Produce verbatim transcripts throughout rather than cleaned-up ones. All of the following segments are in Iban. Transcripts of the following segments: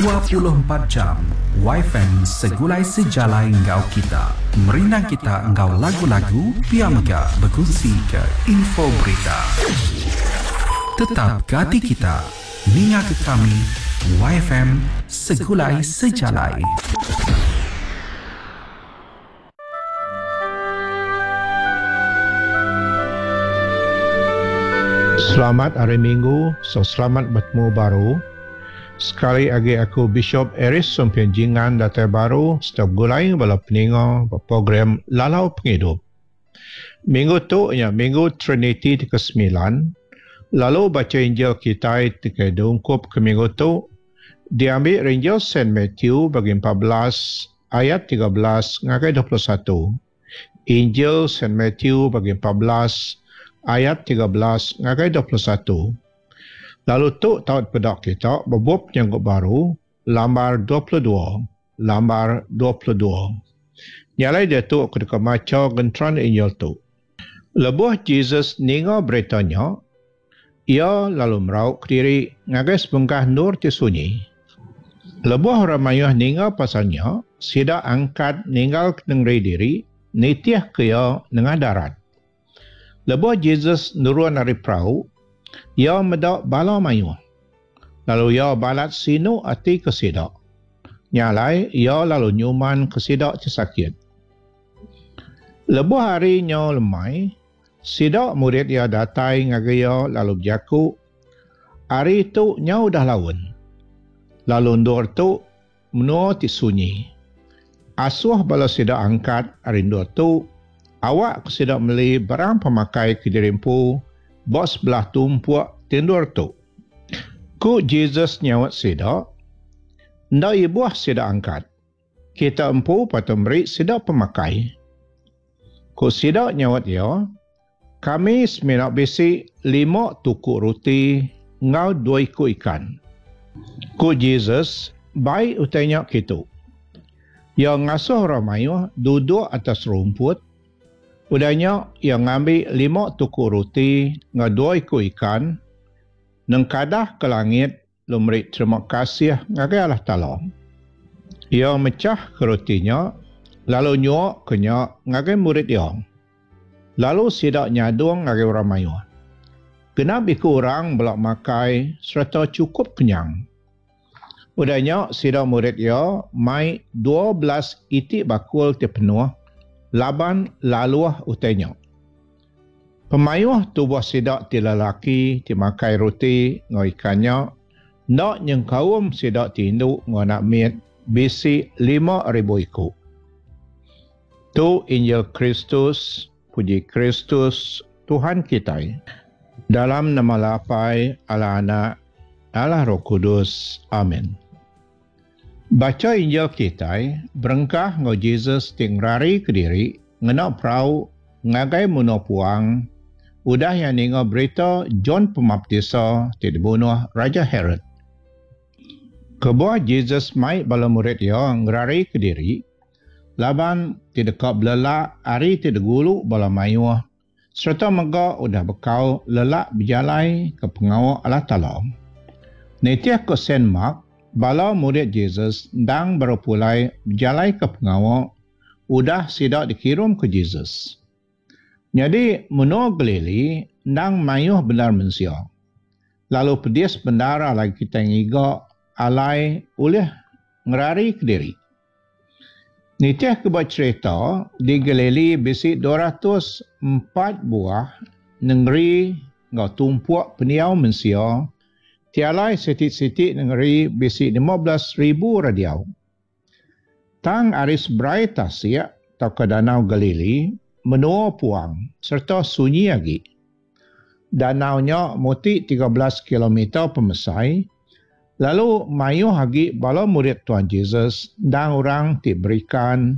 Dua puluh empat jam Wi-Fi segulai sejalai enggau kita. Merindang kita enggau lagu-lagu pia mega berkongsi ke info berita. Tetap gati kita. Ninga ke kami Y F M Segulai Sejalai. Selamat hari Minggu, so selamat bertemu baru. Sekali lagi aku Bishop Aris Sumpien Jingan datai baru setiap gulai bala peninga program Lalau Penghidup. Minggu tu nya Minggu Trinity ke sembilan, lalu baca Injil kita tiga dungkup ke minggu tu diambil Injil Saint Matthew bagi empat belas ayat tiga belas ngagai dua puluh satu. Injil Saint Matthew bagi empat belas ayat tiga belas ngagai dua puluh satu. Lalu tu taut pedak kita bebup nyanggup baru lambar dua puluh dua, lambar dua puluh dua. Nyalai dia tu aku deka maca gentran Injil tu. Lebuh Jesus ninga beritanya, ia lalu merauk diri ngagai sebengkah nur ti sunyi. Lebuh orang mayuh ninga pasalnya, sida angkat ninggal ke negeri diri, nitih ke ia nengah darat. Lebuh Jesus nurun ari perahu, ia medak bala mayuh. Lalu ia balat sinu ati ke sida. Nyalai ia lalu nyuman ke sida ti sakit. Lebuh hari nyo lemai, sida murid ia datai ngagai ia lalu berjaku, hari tu nyo dah laun. Lalu ndur tu menua ti sunyi. Asuh bala sida angkat hari ndur tu, awak ke sida meli barang pemakai ke dirimpu bos belah tumpuk tindur tu. Ku Jesus nyawat sida, nda ibuh sida angkat. Kita empu patut meri sida pemakai. Ku sida nyawat ia, kami semina bisi lima tuku roti ngau dua iku ikan. Ku Jesus, bai utainya kitu. Ia ngasuh orang mayuh duduk atas rumput. Udahnya ia ngambil lima tuku roti ngau dua iku ikan, nengkadah ke langit lalu meri terima kasih ngagai Allah Taala. Ia mecah ke rotinya lalu nyuak ke nya ngagai murid ia. Lalu sidak nyadung ngagai orang mayuh. Genap iku orang belak makai serta cukup kenyang. Udahnya sidak murid ia mai dua belas itik bakul ti penuh laban laluah utainya. Pemayuh tubuh sidak ti lelaki ti makai roti ngau ikannya nak nyengkaum sidak ti induk ngau anak mit bisi lima ribu iku. Tu Injil Kristus, puji Kristus Tuhan kita. Dalam nama Lapai, Allah Anak, Allah Roh Kudus. Amin. Baca Injil kita, berengkah ngau Jesus ti ngerari ke diri, ngena perahu ngagai menua puang, udah yang ninga berita John Pemaptisa ti dibunuh Raja Herod. Kebuah Jesus mai bala murid ia ngerari ke diri, laban ti deka belelak ari ti digulu bala mayuh, serta mega udah bekau lelak berjalai ke pengawa Allah Taala. Nitih ke Saint Mark, bala murid Jesus ndang baru pulai berjalai ke pengawa udah sidak dikirim ke Jesus. Jadi menua Galili ndang mayuh benar mensia. Lalu pedis bendara lagi kita ngiga alai oleh ngerari ke diri. Nitih ke buat cerita di Galili bisi dua ratus empat buah negeri ngau tumpuk peniau mensia. Tialai sitik-sitik negeri bisi lima belas ribu radiau. Tang aris berai tasik atau ke danau Galili menua puang serta sunyi lagi. Danaunya muti tiga belas kilometer pemesai. Lalu mayuh lagi bala murid Tuhan Jesus dan orang ti berikan.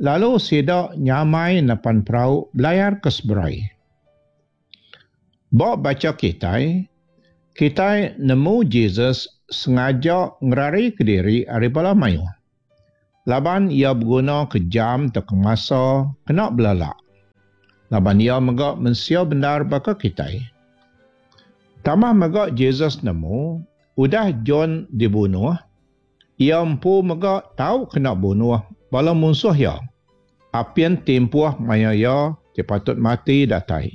Lalu sidak nyamai nepan perahu belayar ke seberai. Bawa baca kita, kita nemu Jesus sengaja ngerari ke diri ari bala mayuh. Laban ia berguna ke jam atau ke masa kena belalak. Laban ia megak mensia benar baka kita. Tambah megak Jesus nemu, udah John dibunuh, Iya empu mega tau kena bunuh bala munsuh iya. Apin timpuh maya iya ti patut mati datai.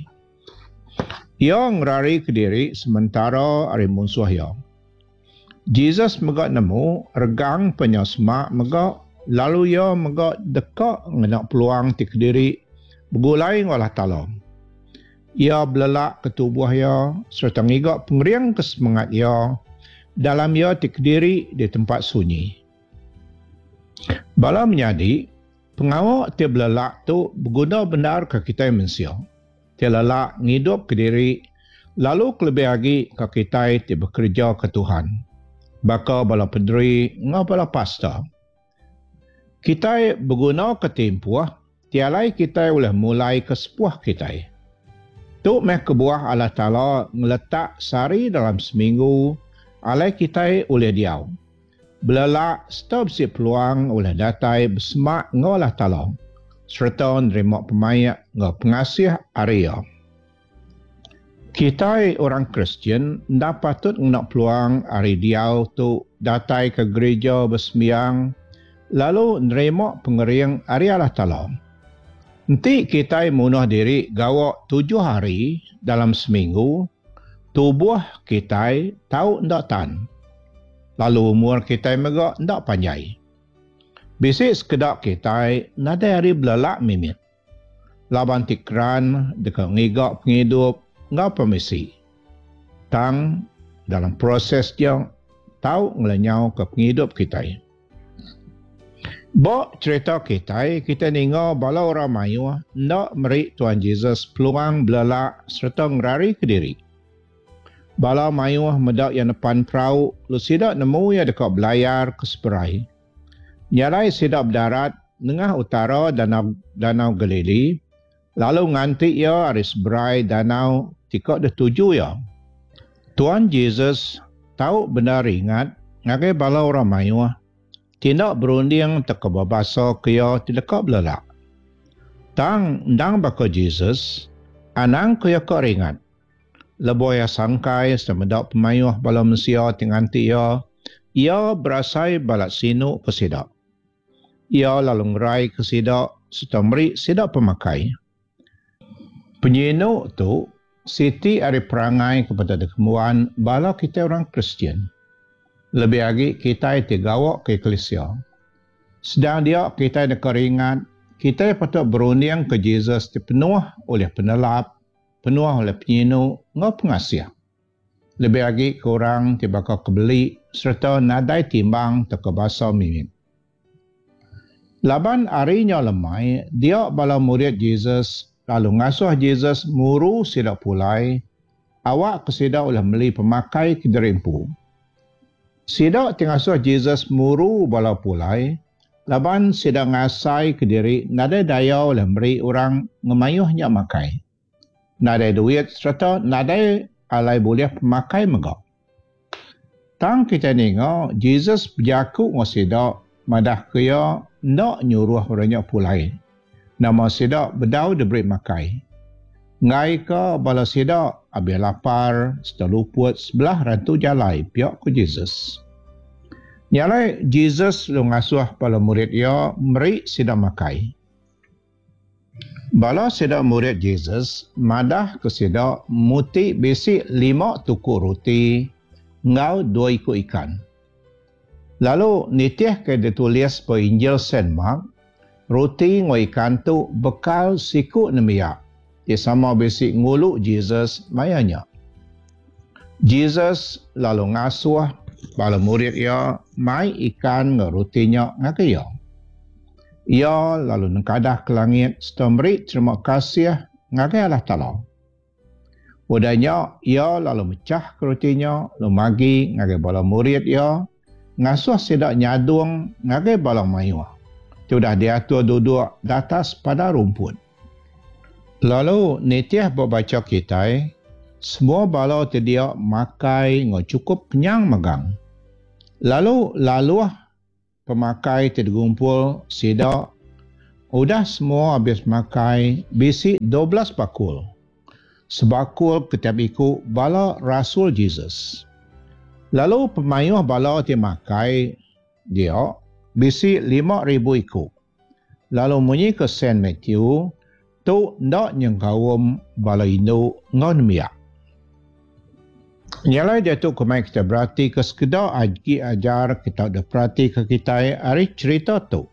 Iya ngerari kediri sementara ari munsuh iya. Jesus mega nemu regang penyau semak mega lalu iya mega deka ngena peluang ti kediri begulai enggau Allah Taala. Iya belelak ke tubuh iya sereta ngiga pengering ke semengat iya dalam iya ti kediri di tempat sunyi. Bala menyadi, pengawa ti belelak tu beguna bendar ke kitai mensia. Ti lelak ngidup kediri lalu kelebih agi ke kitai ti bekereja ke Tuhan. Baka bala pederi enggau bala pastor. Kitai beguna ke timpuh ti alai kitai ulih mulai ke sepuh kitai. Tu meh kebuah Allah Taala ngeletak sehari dalam seminggu alai kitai ulih diau. Belelak serta bisi peluang ulih datai besemak enggau Allah Taala sereta nerima pemaik enggau pengasih ari iya. Kitai orang Kristian enda patut ngena peluang ari diau tu datai ke gereja besembiang lalu nerima pengering ari Allah Taala. Enti kitai munuh diri gawa tujuh hari dalam seminggu, tubuh kitai tau enda tan. Lalu umur kitai mega enda panjai. Bisi sekeda kitai nadai hari belelak mimit. Laban ti keran deka ngiga pengidup enggau pemisi. Tang dalam proses dia tau ngelenyau ke pengidup kitai. Ba cerita kitai, kita ninga bala orang mayuh enda meri Tuhan Jesus peluang belelak sereta ngerari ke diri. Bala mayuh meda iya nepan perau, lalu sida nemu iya deka belayar ke seberai. Nyalai sida berdarat nengah utara danau, danau Galili, lalu nganti iya ari seberai danau tika dituju iya. Tuhan Jesus tau benar ingat ngagai bala orang mayuh tindak berunding teka berbahasa ke iya ti deka belelak. Tang endang baka Jesus, anang ke iya ka ringat. Lebuh iya sangkai serta meda pemayuh bala mensia ti nganti iya, iya berasai balat sinu ke sida. Iya lalu ngerai ke sida serta meri sida pemakai. Penyinu tu siti ari perangai kepada dikembuan bala kita orang Kristian. Lebih agi kita ti gawa ke eklesia. Sedang dia kita deka ringat, kita patut berunding ke Jesus ti penuh oleh penelap, penuh oleh penyinu enggau pengasih. Lebih agi ke orang ti bakal kebeli serta nadai timbang teka basa mimit. Laban harinya lemai, dia bala murid Jesus lalu ngasuh Jesus muru sida pulai, awak ke sida oleh meli pemakai ke derimpu. Sida ti ngasuh Jesus muru bala pulai, laban sida ngasai ke diri nadai daya oleh meri orang ngemayuhnya makai. Nadai duit serta nadai alai boleh pemakai mega. Tang kita ninga Jesus berjaku ngau sida madah ke ia ndak nyuruh orangnya pulai. Nama sida bedau diberi makai. Ngai ke bala sida habis lapar serta luput sebelah rantu jalai pihak ke Jesus. Nyalai Jesus lu ngasuh bala murid ia meri sida makai. Bala sida murid Jesus madah ke sida muti bisi lima tuku roti ngau dua iku ikan. Lalu nitih ke ditulis pe Injil Saint Mark, roti ngau ikan tu bekal siku nemiak. Ti sama bisi ngulu Jesus mayanya. Jesus lalu ngasuh bala murid ia mai ikan ngau rotinya ngagai ia. Ia lalu nengkadah ke langit serta meri terima kasih ngagai Allah Taala. Udahnya ia lalu mecah ke rotinya lalu magi ngagai bala murid ia ngasuh sida nyadung ngagai bala mayuh. Ti udah diatur duduk di atas pada rumput. Lalu nitih baca kitai, semua bala ti dia makai ngau cukup kenyang megang. Lalu laluh pemakai ti digumpul sida udah semua habis makai bisi dua belas bakul. Sebakul ketiap iku bala rasul Jesus. Lalu pemayuh bala ti makai dia bisi lima ribu iku. Lalu munyi ke Saint Matthew, tu enda nyengkaum bala indu enggau nembiak. Nya alai diatu kemai kita berati ke sekeda agi ajar kita udah perati ke kitai ari cerita tu.